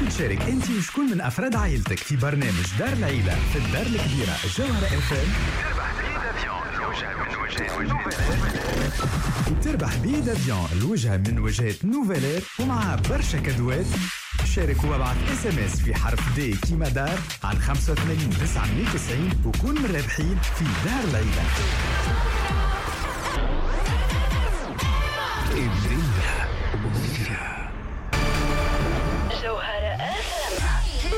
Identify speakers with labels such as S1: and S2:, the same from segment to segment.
S1: تحب تشارك انت وشكون من افراد عائلتك في برنامج دار العيلة في الدار الكبيرة جوهره اف ام؟ تربح billet d'avion الوجهة من وجهات Nouvelair ومعها برشا كادوات. شارك وابعث SMS في حرف D كيما دار على 85 990 وكون من الرابحين في دار العيلة.
S2: الدنيا وما
S3: جوهرة اف ام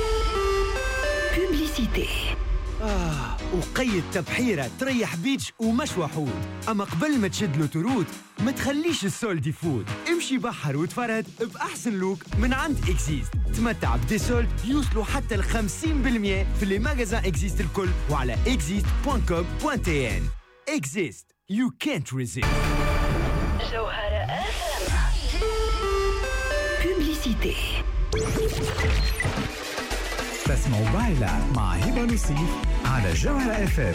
S3: publicité.
S4: وقيد تبحيرة تريح beach ومشوى حوت، أما قبل ما تشد l'autoroute ما تخليش ال solde يفوت. امشي بحر وتفرهد بأحسن look من عند Exist. تمتع ب des soldes يوصلوا حتى ل 50% في les magasins Exist الكل وعلى exist.com.tn. Exist, you can't resist.
S3: جوهرة اف ام publicité.
S1: تسمعوا بايلا مع هبة نصيف على جوهرة اف ام.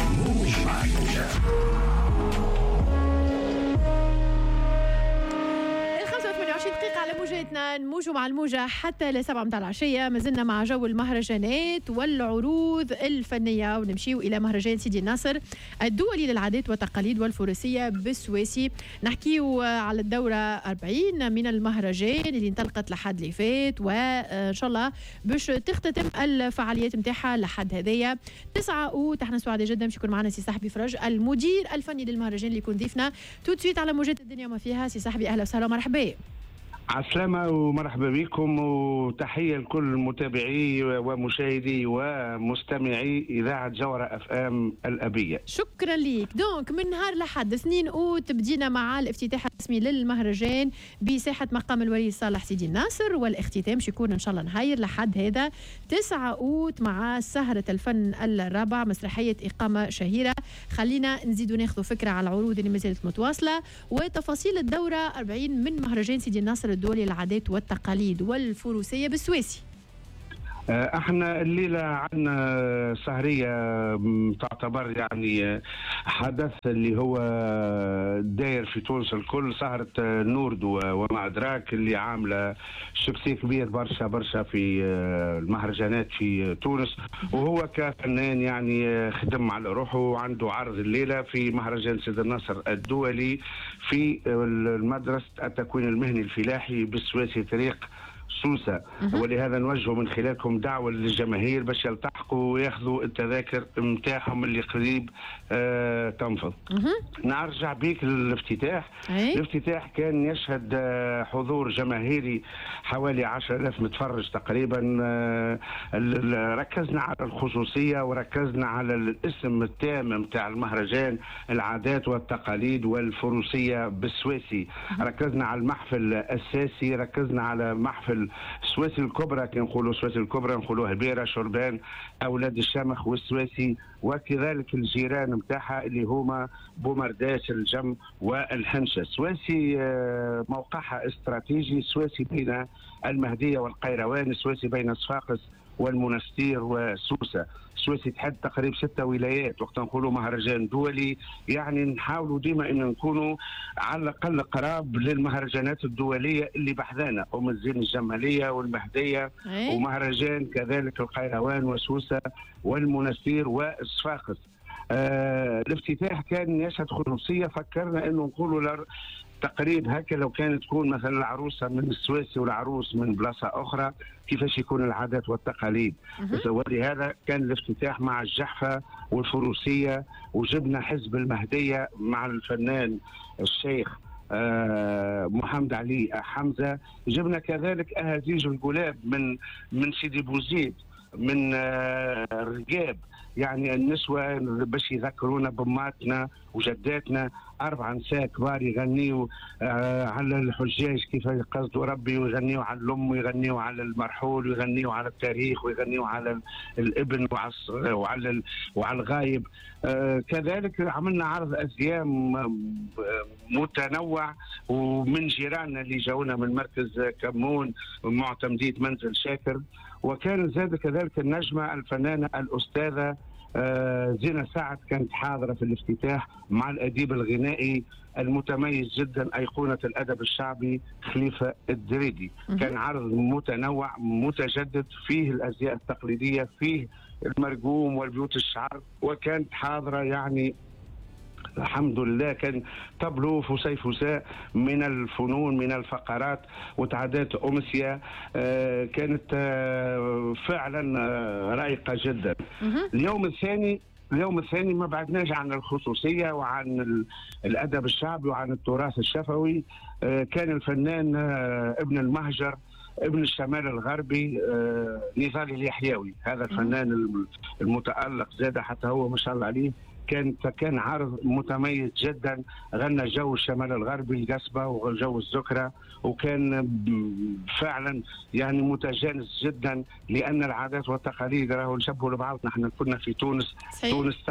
S5: دقيقة على موجاتنا، نموجوا مع الموجة حتى ل7 متاع العشية. ما زلنا مع جو المهرجانات والعروض الفنية، ونمشيو إلى مهرجان سيدي الناصر الدولي للعادات والتقاليد والفروسية بالسويسي. نحكيو على الدورة 40 من المهرجان اللي انطلقت لحد اللي فات، وإن شاء الله باش تختتم الفعاليات نتاعها لحد هذايا 9 أوت. احنا سعداء جدا باش يكون معنا سي صاحبي فرج المدير الفني للمهرجان اللي يكون ضيفنا tout de suite على موجات الدنيا وما فيها. سي صاحبي أهلا وسهلا ومرحبا.
S6: عسلامة ومرحبا بكم، وتحية لكل متابعي ومشاهدي ومستمعي إذاعة جوهرة اف ام الأبية.
S5: شكرا لك. donc من نهار لحد 2 أوت بدينا مع الافتتاح الرسمي للمهرجان بساحة مقام الولي صالح سيدي الناصر، والاختتام باش يكون إن شاء الله نهاير لحد هذا 9 أوت مع سهرة الفن الرابع مسرحية إقامة شهيرة. خلينا نزيدوا ناخذوا فكرة على العروض اللي مازالت متواصلة وتفاصيل الدورة 40 من مهرجان سيدي الناصر الدولي للعادات والتقاليد والفروسية بالسويسي.
S6: احنا الليلة عندنا سهرية تعتبر يعني حدث اللي هو داير في تونس الكل، سهرة نوردو وما أدراك اللي عاملة succès كبير برشا برشا في المهرجانات في تونس، وهو كفنان يعني خدم على روحه وعنده عرض الليلة في مهرجان سيدي الناصر الدولي في المدرسة التكوين المهني الفلاحي بالسويسي طريق سوسة. ولهذا نوجه من خلالكم دعوة للجماهير باش يلتحقوا وياخذوا التذاكر نتاعهم اللي قريب تنفض. نرجع بيك للافتتاح. الافتتاح كان يشهد حضور جماهيري حوالي 10,000 متفرج تقريبا. ركزنا على الخصوصية وركزنا على الاسم التام نتاع المهرجان، العادات والتقاليد والفروسية بالسويسي. ركزنا على المحفل الأساسي، ركزنا على محفل السويسي الكبرى. كي نقولوا السويسي الكبرى نقولوا هبيره، شربان، اولاد الشمخ والسويسي، وكذلك الجيران نتاعها اللي هما بومرداس، الجم والحنشه. السويسي موقعها استراتيجي، السويسي بين المهدية والقيروان، السويسي بين صفاقس والمنستير وسوسه. السويسي تحد تقريبا 6 ولايات. وقت نقولوا مهرجان دولي يعني نحاولوا ديما ان نكونوا على الاقل قراب للمهرجانات الدولية اللي بحذانا، ام الزين الجمالية والمهديه ومهرجان كذلك القيروان وسوسه والمنستير والصفاقس. الافتتاح كان يشهد خصوصية، فكرنا انه نقولوا تقريب هكا لو كانت تكون مثلا العروسة من السويسي والعروس من بلاصة اخرى كيفاش يكون العادات والتقاليد. ولهذا كان الافتتاح مع الجحفة والفروسيه، وجبنا حزب المهدية مع الفنان الشيخ محمد علي حمزة. جبنا كذلك اهازيج الجلاب من سيدي بوزيد، من الرقاب، يعني النسوة باش يذكرونا بماتنا وجداتنا. 4 نساء كبار يغنيوا على الحجاج كيف يقصدوا ربي، ويغنيوا على الأم، ويغنيوا على المرحول، ويغنيوا على التاريخ، ويغنيوا على الابن وعلى الغايب. كذلك عملنا عرض أزياء متنوع، ومن جيراننا اللي جاونا من مركز كمون معتمدية منزل شاكر. وكان زاد كذلك النجمة الفنانة الأستاذة زينة سعد كانت حاضرة في الافتتاح مع الأديب الغنائي المتميز جدا أيقونة الأدب الشعبي خليفة الدريدي. كان عرض متنوع متجدد، فيه الأزياء التقليدية، فيه المرجوم والبيوت الشعر، وكانت حاضرة يعني الحمد لله. كان تابلو فسيفساء من الفنون من الفقرات وتعدات أمسية كانت فعلا رائقة جدا. اليوم الثاني ما بعدناش عن الخصوصية وعن الأدب الشعبي وعن التراث الشفوي. كان الفنان ابن المهجر ابن الشمال الغربي نضال اليحيوي، هذا الفنان المتألق زاد حتى هو ما شاء الله عليه. كان عرض متميز جدا، غنى جو الشمال الغربي القصبة وجو الزكرة، وكان فعلا يعني متجانس جدا، لأن العادات والتقاليد راهو نشبهوا لبعض. نحن كنا في تونس. تونس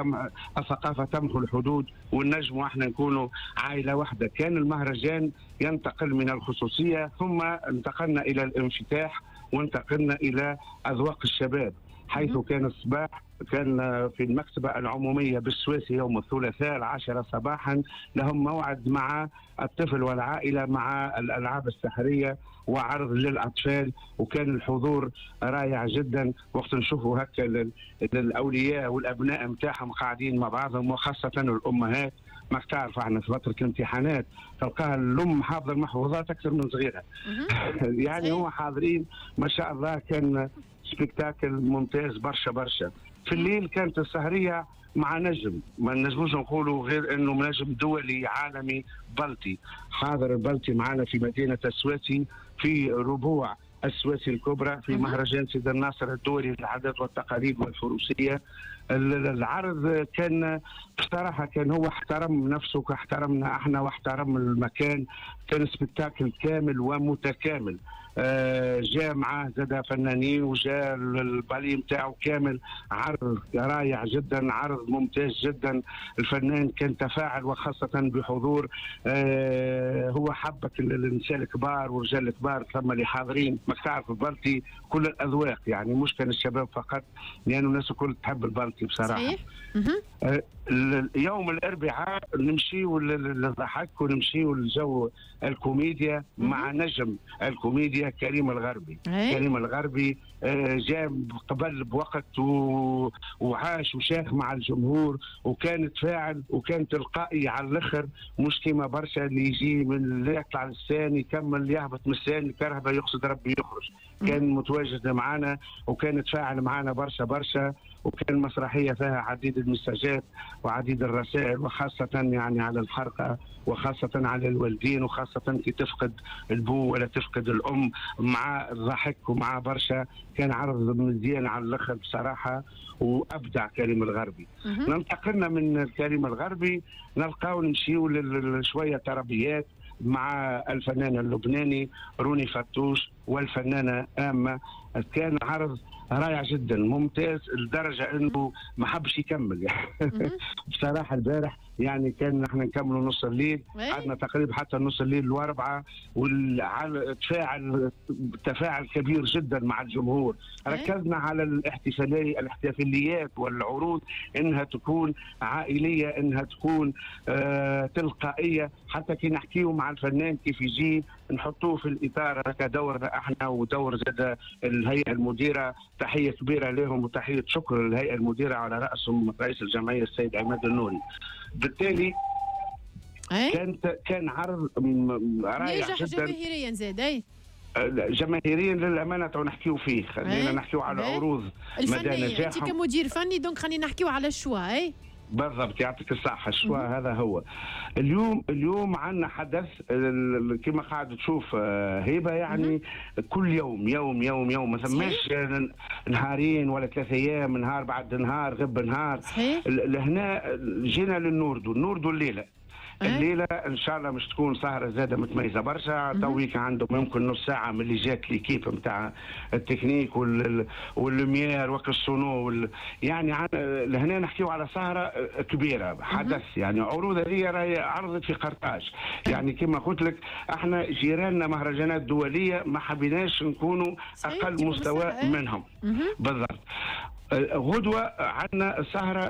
S6: الثقافة تمحو الحدود، والنجم واحنا نكونوا عائلة واحدة. كان المهرجان ينتقل من الخصوصية، ثم انتقلنا إلى الانفتاح، وانتقلنا إلى أذواق الشباب، حيث كان الصباح كان في المكتبة العمومية بالسويسي يوم الثلاثاء 10 صباحا لهم موعد مع الطفل والعائلة مع الألعاب السحرية وعرض للأطفال، وكان الحضور رائع جدا. وقت نشوفوا هكا الأولياء والأبناء متاعهم قاعدين مع بعضهم، وخاصة الأمهات. ما تعرف احنا في فترة الامتحانات تلقاها الأم حافظة المحفوظات أكثر من صغيرها. يعني هم حاضرين ما شاء الله. كان spectacle ممتاز برشا برشا. في الليل كانت السهرية مع نجم، ما نجموش نقولوا غير انه نجم دولي عالمي بلطي، حاضر البلطي معنا في مدينة السواسي في ربوع السواسي الكبرى في مهرجان سيد الناصر الدولي للعادات والتقاليد والفروسية. العرض كان بصراحة كان هو احترم نفسه كاحترمنا احنا واحترم المكان. كان spectacle كامل ومتكامل، جاء معاه زاد فنانين وجاء البالي نتاعو كامل. عرض رائع جدا، عرض ممتاز جدا. الفنان كان تفاعل، وخاصة بحضور هو حبك النساء الكبار والرجال الكبار، ثم اللي حاضرين. ما تعرف البلطي كل الأذواق، يعني مش كان الشباب فقط، لأنه الناس الكل تحب البلطي بصراحة.
S5: صحيح.
S6: يوم الأربعاء نمشيو للضحك ونمشيو للجو الكوميديا مع نجم الكوميديا كريم الغربي. كريم الغربي جاء قبل بوقت وعاش وشاخ مع الجمهور، وكان تفاعل وكان تلقائي على الاخر، مش كيما برشا اللي يجي من يطلع للسان يكمل يهبط من السان الكرهبه يقصد ربي يخرج. كان متواجد معنا وكان تفاعل معنا برشا برشا، وكان مسرحية فيها عديد المساجات وعديد الرسائل، وخاصة يعني على الحرقة، وخاصة على الوالدين، وخاصة كي تفقد البو ولا تفقد الأم، مع الضحك ومع برشا. كان عرض مزيان على الآخر بصراحة، وأبدع كريم الغربي. ننتقلنا من كريم الغربي نلقاو نمشيو لشوية تربيات مع الفنان اللبناني روني فتوش والفنانة آمة. كان عرض رائع جدا ممتاز، لدرجة انه ما حبش يكمل يعني. بصراحة البارح يعني كان نحن نكملوا نص الليل، قعدنا تقريبا حتى نص الليل واربعة، والتفاعل تفاعل كبير جدا مع الجمهور. ركزنا على الاحتفاليات والعروض انها تكون عائلية، انها تكون تلقائية، حتى كي نحكيو مع الفنان كيف يجي نحطوه في الاطار هكا دورنا احنا ودور زاد الهيئة المديرة. تحية كبيرة لهم وتحية شكر للهيئة المديرة على راسهم رئيس الجمعية السيد عماد النوري. بالتالي كان عرض رائع جدا،
S5: جماهيريا زاد.
S6: جماهيريا للامانة تو نحكيو فيه، خلينا نحكيو على العروض
S5: مدى نجاحهم. انت كمدير فني donc خلينا نحكيو على ال choix.
S6: بالضبط، يعطيك الصحة. ال choix هذا هو اليوم عندنا حدث كما قاعد تشوف هبة، يعني كل يوم يوم يوم يوم، ما ثماش نهارين ولا 3 أيام، نهار بعد نهار، غب نهار. لهنا جينا للنوردو، النوردو الليلة الليلة ان شاء الله مش تكون سهره زاده متميزة برشا. تويك عندهم يمكن نص ساعة من اللي جات l'équipe نتاع ال technique وال lumière وك ال sono يعني لهنا نحكيو على سهره كبيرة، حدث يعني. عروض هذه راهي عرضت في قرطاج، يعني كما قلت لك احنا جيراننا مهرجانات دولية، ما حبيناش نكونوا اقل مستوى منهم. بالضبط. غدوة عندنا سهرة،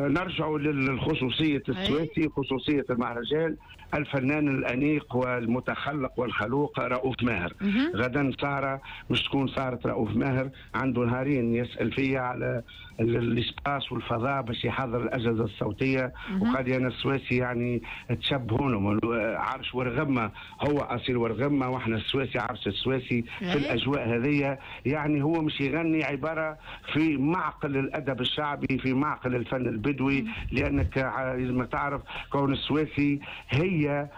S6: نرجع للخصوصية السواسي، خصوصية المهرجان، الفنان الأنيق والمتخلق والخلوق رؤوف ماهر. غدا سهرة مش تكون سهرة رؤوف ماهر، عنده نهارين يسأل فيا على ال espace والفضاء باش يحضر الأجهزة الصوتية. وقال أنا السواسي يعني تشبهونهم، عرش ورغمة، هو أصيل ورغمة واحنا السواسي عرش السواسي في الأجواء هذه. يعني هو مش يغني، عبارة في معقل الأدب الشعبي، في معقل الفن البدوي، لأنك لازم تعرف كون السواسي هي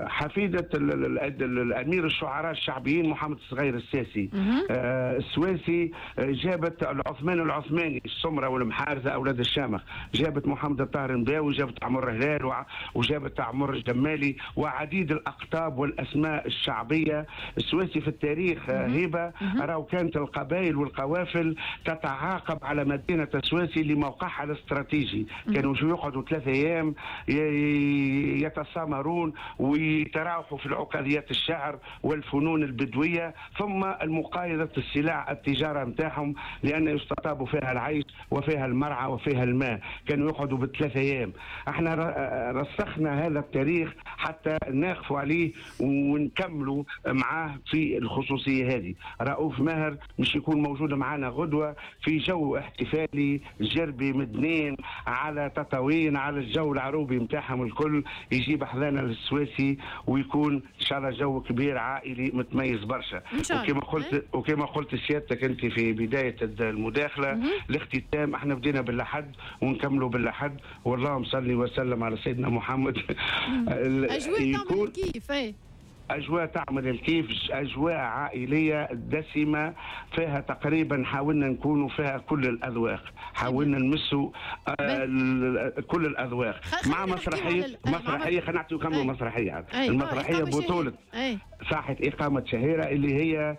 S6: حفيدة الأمير الشعراء الشعبيين محمد الصغير الساسي. السواسي جابت العثمان العثماني، السمرة والمحارزة أولاد الشامخ، جابت محمد الطاهر المباوي، جابت عمر هلال، وجابت عمر الجمالي، وعديد الأقطاب والأسماء الشعبية. السواسي في التاريخ هبة، راهو كانت القبائل والقوافل تتعاقب على مدينة السواسي لموقعها الاستراتيجي. كانوا يقعدوا 3 أيام يتسامرون ويتراوحوا في العقليات الشعر والفنون البدوية، ثم المقايضة السلع التجارة نتاعهم، لأن يستطاب فيها العيش وفيها المرعى وفيها الماء. كانوا يقعدوا ب3 أيام. احنا رسخنا هذا التاريخ حتى ناقفوا عليه ونكملوا معاه في الخصوصية هذه. رؤوف ماهر مش يكون موجود معنا غدوة في جو احتفالي جربي مدنين على تطاوين، على الجو العروبي نتاعهم الكل، يجيب حذانا للسواسي، ويكون ان شاء الله جو كبير عائلي متميز برشا. وكما قلت سيادتك انت في بداية المداخلة، الاختتام احنا بدينا بالأحد ونكملوا بالأحد، واللهم صل وسلم على سيدنا محمد.
S5: اجواء تعمل كيف؟
S6: أجواء تعمل الكيف، أجواء عائلية دسمة، فيها تقريبا حاولنا نكونوا فيها كل الأذواق، حاولنا نمسوا كل الأذواق مع مسرحية. خلينا نعطيو كم مسرحية. المسرحية بطولة ساحة إقامة شهيرة اللي هي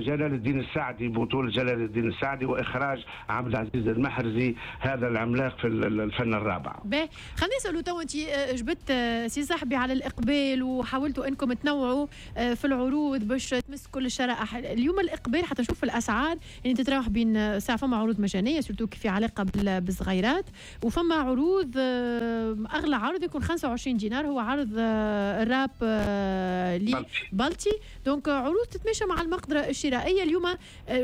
S6: جلال الدين السعدي، بطولة جلال الدين السعدي وإخراج عبد العزيز المحرزي، هذا العملاق في الفن الرابع.
S5: باهي، خلينا نسألوا تو، أنت جبت سي صاحبي على الإقبال وحاولتوا أنكم تنوعوا في العروض باش تمس كل الشرائح. اليوم الإقبال حتى نشوف الأسعار يعني تتراوح بين ساعة، فما عروض مجانية surtout في علاقة بالصغيرات، وفما عروض أغلى عرض يكون 25 دينار، هو عرض الراب بلطي. donc عروض تتماشى مع المقدرة الشرائية. اليوم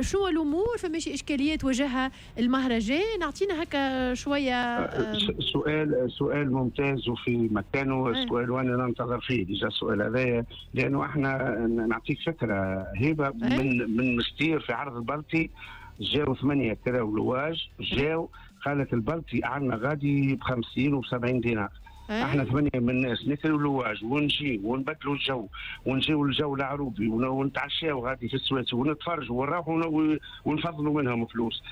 S5: شنو الأمور، فماشي إشكاليات واجهها المهرجان؟ أعطينا هكا شوية.
S6: سؤال ممتاز وفي مكانه السؤال، وأنا ننتظر فيه déjà السؤال هذايا، لأنه احنا نعطيك فكرة هبة، من مستير في عرض البلطي جاو 8 كراو louage، جاو قالت البلطي عندنا غادي ب 50 و 70 دينار. احنا 8 من الناس نكروا louage ونجي ونبدلوا الجو ونجيو الجو العروبي ونتعشاو غادي في السواسي ونتفرجوا ونروحوا ونفضلوا منهم فلوس.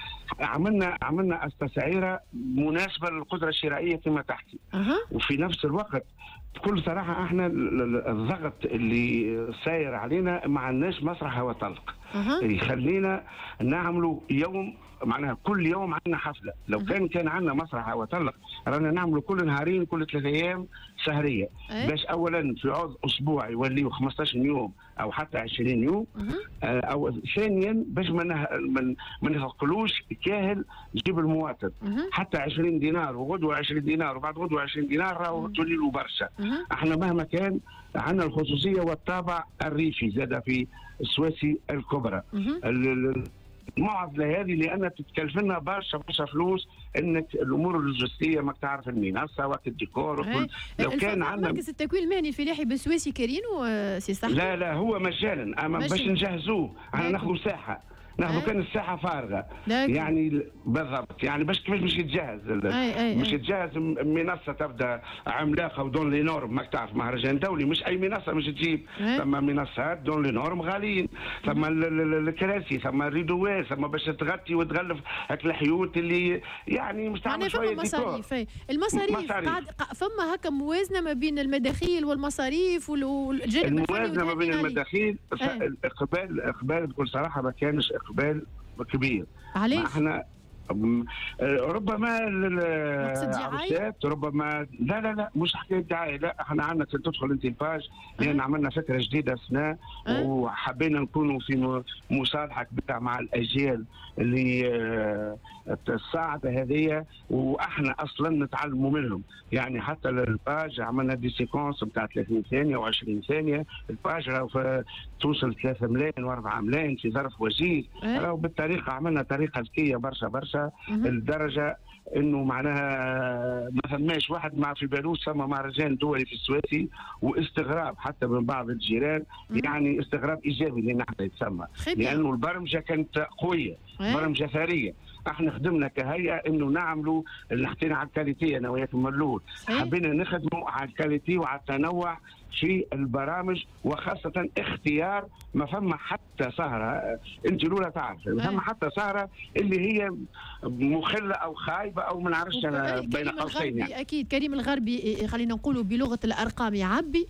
S6: عملنا التسعيره مناسبة للقدرة الشرائية كما تحكي. وفي نفس الوقت بكل صراحة احنا الضغط اللي ساير علينا ما عندناش مسرح هو طلق يخلينا نعملوا يوم، معناها كل يوم عندنا حفلة. لو كان عندنا مسرح هو طلق رانا نعملوا كل نهارين كل 3 ايام سهريه، باش اولا في عوض اسبوع يوليو 15 يوم او حتى 20 يوم، او ثانيا باش ما نثقلوش كاهل جيب المواطن. حتى 20 دينار وغدوه 20 دينار وبعد غدوه 20 دينار راهو تولي له برشا. احنا مهما كان عندنا الخصوصية والطابع الريفي زاد في السواسي الكبرى. المعضلة هذه لان تتكلف لنا برشا برشا فلوس، انك الامور اللوجستية ماك تعرف المنصة وقت الديكور وكل. لو كان عندنا
S5: مركز التكوين المهني الفلاحي بالسواسي كارين سي صح؟
S6: لا لا هو مجانا، اما باش نجهزوه احنا ناخذوا ساحة، ناخذوا كان الساحة فارغة يعني بالضبط، يعني باش كيفاش باش يتجهز مش يتجهز منصة تبدا عملاقة و dans les normes، ماك تعرف مهرجان دولي مش اي منصة مش تجيب، ثم منصات dans les normes غاليين، ثم الكراسي، ثم الريدوات، ثم باش تغطي وتغلف هاك الحيوت اللي يعني مش تعمل شوية
S5: مصاريف. المصاريف قاعد فما هكا موازنه ما بين المداخيل والمصاريف والجانب
S6: الموازنة ما بين المداخيل. الاقبال بكل صراحة ما كانش اقبال كبير.
S5: علاش؟
S6: احنا ربما العروسات، ربما لا لا لا مش حكاية دعاية، لا احنا عندنا تدخل انت ال page، لان عملنا فكرة جديدة سنة وحبينا نكونوا في مصالحه كبيرة مع الاجيال اللي الصاعدة هذه، واحنا اصلا نتعلموا منهم. يعني حتى ال page عملنا des séquences نتاع 30 ثانية و20 ثانية، ال page راهو توصل 3 ملايين و4 ملايين في ظرف وجيز. راهو بالطريقة عملنا طريقه ذكية برشا برشا، لدرجة انه معناها ما ثماش واحد مع في بالوش ثم مهرجان دولي في السواسي، واستغراب حتى من بعض الجيران، يعني استغراب ايجابي لان احنا يتسمى، لانه البرمجة كانت قوية، برمجة ثرية. احنا خدمنا كهيئة انه نعملوا اللي حطينا على ال qualité، انا وياكم من الاول حبينا نخدموا على ال qualité وعلى التنوع في البرامج، وخاصة اختيار ما فما حتى سهرة، انت الاولى تعرف ما فما حتى سهرة اللي هي مخلة او خايبة او ما نعرفش انا بين قوسين يعني.
S5: اكيد كريم الغربي خلينا نقولوا بلغة الارقام يعبي،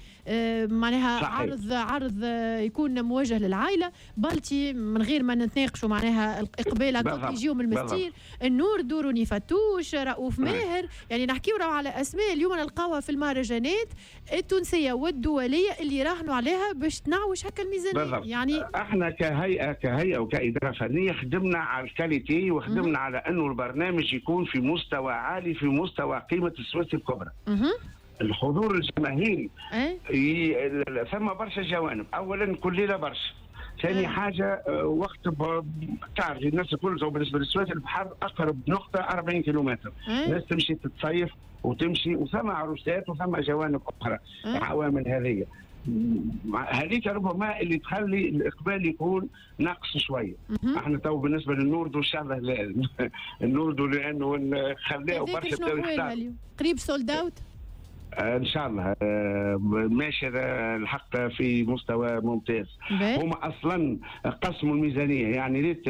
S5: معناها صحيح. عرض يكون موجه للعائلة، بلتي من غير ما نتناقشوا معناها الاقبال هكا يجيو من المستير، النور دوروني فتوش، رؤوف ماهر، يعني نحكيو على اسماء اليوم نلقاوها في المهرجانات التونسية والدولية اللي راهنوا عليها باش تنعوش هكا الميزانية. يعني
S6: احنا كهيئة وكاداره فنية خدمنا على ال qualité، وخدمنا على انه البرنامج يكون في مستوى عالي، في مستوى قيمة السويس الكبرى. الحضور الجماهيري ثم برشا جوانب، اولا كل ليلة برشا، ثاني حاجة وقت تعرف الناس الكل بالنسبة للسويس البحر اقرب نقطة 40 كيلومتر، الناس تمشي تتصيف وتمشي، وثم عروسات وثم جوانب اخرى، عوامل هذه هذيك ربما اللي تخلي الاقبال يكون ناقص شوية. احنا تو بالنسبة للنوردو ان شاء الله النوردو لانه خلاه برشا
S5: قريب sold out
S6: ان شاء الله، ماشي الحق في مستوى ممتاز. هما اصلا قسموا الميزانية، يعني ريت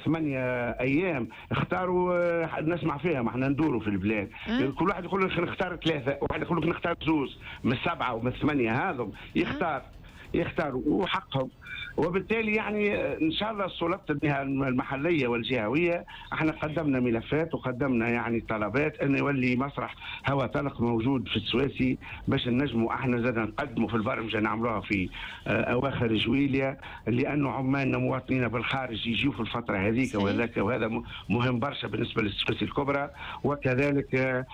S6: 8 ايام اختاروا، نسمع فيها ما احنا ندوروا في البلاد، كل واحد يقول لك نختار 3، واحد يقول لك نختار 2 من 7 ومن 8، هذم يختاروا وحقهم. وبالتالي يعني ان شاء الله السلطات المحلية والجهويه احنا قدمنا ملفات وقدمنا يعني طلبات ان يولي مسرح هواء طلق موجود في السواسي باش نجموا احنا زاد نقدموا في البرمجة نعملوها في اواخر جويليا، لانه عمالنا مواطنينا بالخارج يجيو في الفترة هذيك وهذاك، وهذا مهم برشا بالنسبة للسواسي الكبرى. وكذلك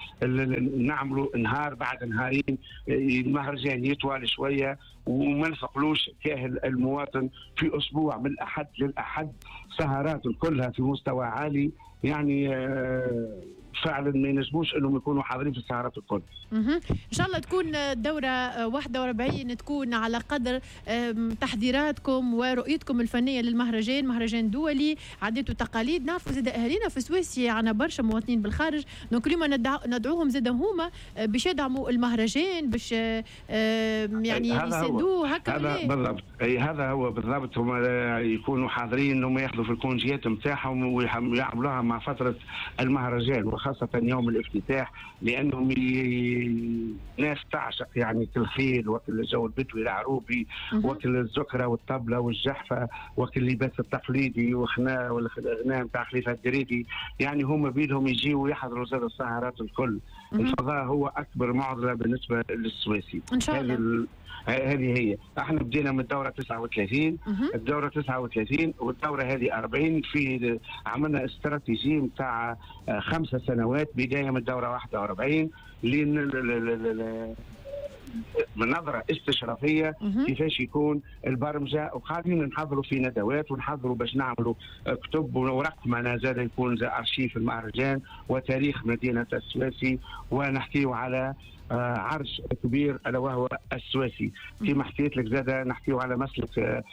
S6: نعملوا نهار بعد نهارين المهرجان يطول شوية وما نثقلوش كاهل المواطن في اسبوع من الاحد للاحد، سهرات كلها في مستوى عالي، يعني فعلا ما ينجموش انهم يكونوا حاضرين في السهرات الكل.
S5: ان شاء الله تكون الدورة 41 تكون على قدر تحضيراتكم ورؤيتكم الفنية للمهرجان، مهرجان دولي عادات وتقاليد. نعرفوا زاد اهالينا في سويسيا عندنا برشا مواطنين بالخارج، donc اليوم ندعوهم زاد هما باش يدعموا المهرجان، باش يعني يساندوه هكا.
S6: بالضبط، اي هذا هو بالضبط، هما يكونوا حاضرين، هم ياخذوا في الكونجيات نتاعهم ويعملوها مع فترة المهرجان، وخاصة يوم الافتتاح، لأنهم ناس تعشق يعني الخيل وكل الجو البدوي العروبي وكل الزكرة والطبلة والجحفة وكل اللباس التقليدي وخنا والغناء نتاع خليفة الدريدي، يعني هم بيدهم يجيوا ويحضروا زاد السهرات الكل. الفضاء هو أكبر معضلة بالنسبة للسويسي
S5: إن شاء الله.
S6: هذه هي، احنا بدينا من الدورة 39، الدورة 39 والدوره هذه 40، في عملنا استراتيجية نتاع 5 سنوات بداية من الدورة 41 لين نظرة استشرافية كيفاش يكون البرمجة، وقاعدين نحضروا في ندوات ونحضروا باش نعملوا كتب ورقمنة زاد يكون زي أرشيف المهرجان وتاريخ مدينة السواسي، ونحكيو على عرش كبير الا وهو السواسي. كما حكيت لك زاد نحكيو على مسلك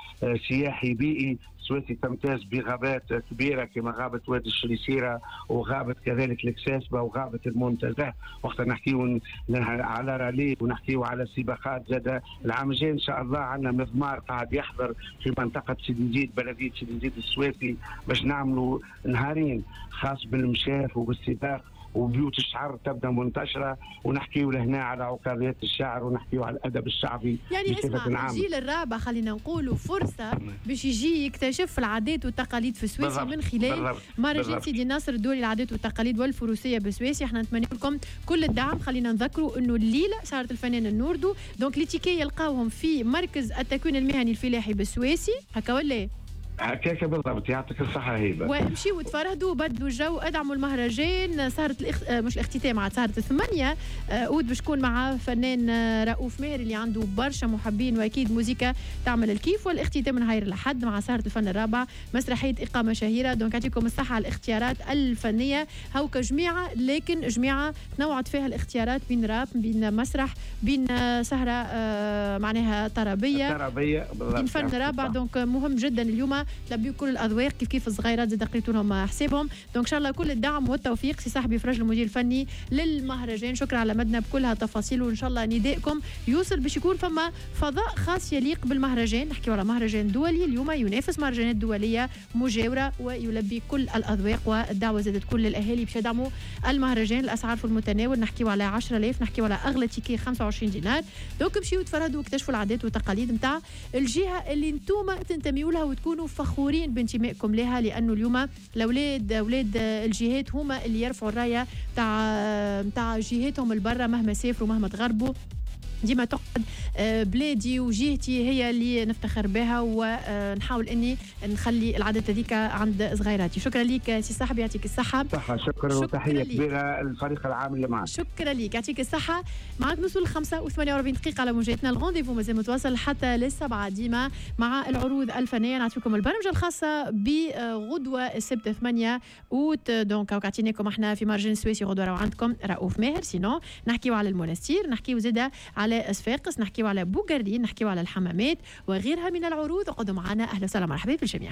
S6: سياحي بيئي، السواسي تمتاز بغابات كبيرة كما غابه وادي الشريسيره وغابه كذلك الكساسبه وغابه المنتزه، وقت نحكيو على رالي ونحكيو على سباقات زاد. العام الجاي ان شاء الله عندنا مضمار قاعد يحضر في منطقة سيدي زيد، بلديه سيدي زيد السواسي، باش نعملوا نهارين خاص بالمشاف وبالسباق وبيوت الشعر تبدا منتشرة، ونحكيو لهنا على عكاظيات الشعر ونحكيو على الادب الشعبي.
S5: يعني اسمع، الجيل الرابع خلينا نقولوا فرصة باش يجي يكتشف العادات والتقاليد في السويسي من خلال مهرجان سيدي ناصر الدولي العادات والتقاليد والفروسيه بالسويسي. احنا نتمنى لكم كل الدعم. خلينا نذكروا انه الليلة سهره الفنان النوردو، donc les tickets يلقاوهم في مركز التكوين المهني الفلاحي بالسويسي، هكا ولا؟
S6: هكاك بالضبط. يعطيك الصحة هبة.
S5: وامشيوا وتفرهدوا وبدلوا الجو، ادعموا المهرجان. سهرة مش الاختتام، عاد سهرة 8 أوت باش تكون مع فنان رؤوف ماهر اللي عنده برشا محبين واكيد موزيكا تعمل الكيف. والاختتام نهار الأحد مع سهرة الفن الرابع مسرحية إقامة شهيرة. donc يعطيكم الصحة على الاختيارات الفنية، هوكا جميعة لكن جميعة تنوعت فيها الاختيارات بين راب، بين مسرح، بين سهرة معناها طربية بين فن رابع. donc مهم جدا اليوم تلبيو كل الاذواق كيف كيف الصغيرات زاد قريتوا لهم حسابهم. donc ان شاء الله كل الدعم والتوفيق سي صاحبي فرج المدير الفني للمهرجان. شكرا على مدنا بكل هالتفاصيل، وان شاء الله ندائكم يوصل باش يكون فما فضاء خاص يليق بالمهرجان. نحكيو على مهرجان دولي اليوم ينافس مهرجانات دولية مجاوره ويلبي كل الاذواق، والدعوة زادت كل الاهالي باش يدعموا المهرجان. الاسعار في المتناول، نحكيو على 10000، نحكيو على اغلى ticket 25 دينار. donc مشيو تفرهدوا واكتشفوا العادات والتقاليد نتاع الجهة اللي انتم تنتميوا لها وتكونوا فخورين بانتمائكم لها، لانه اليوم الاولاد اولاد الجهات هما اللي يرفعوا الراية تاع جهاتهم البرة مهما سافروا مهما تغربوا. ديما تقعد بلادي وجهتي هي اللي نفتخر بها، ونحاول اني نخلي العادات هذيك عند صغيراتي. شكرا لك سي صاحبي، يعطيك الصحة.
S6: صحة، شكرا وتحية كبيرة للفريق العام اللي معك.
S5: شكرا لك، يعطيك الصحة. معك نوصل 5:48 على موجاتنا. ال rendez-vous مازال متواصل حتى للسبعة ديما مع العروض الفنية. نعطيكم البرمجة الخاصة بغدوة السبت 8 أوت. donc عطيناكم احنا في مهرجان السويسي غدوة راهو عندكم رؤوف ماهر. sinon نحكيو على المونستير، نحكيو زادة على صفاقس، نحكيو على بوغارين، نحكيو على الحمامات وغيرها من العروض. اقعدوا معنا. اهلا وسهلا، مرحبا بالجميع.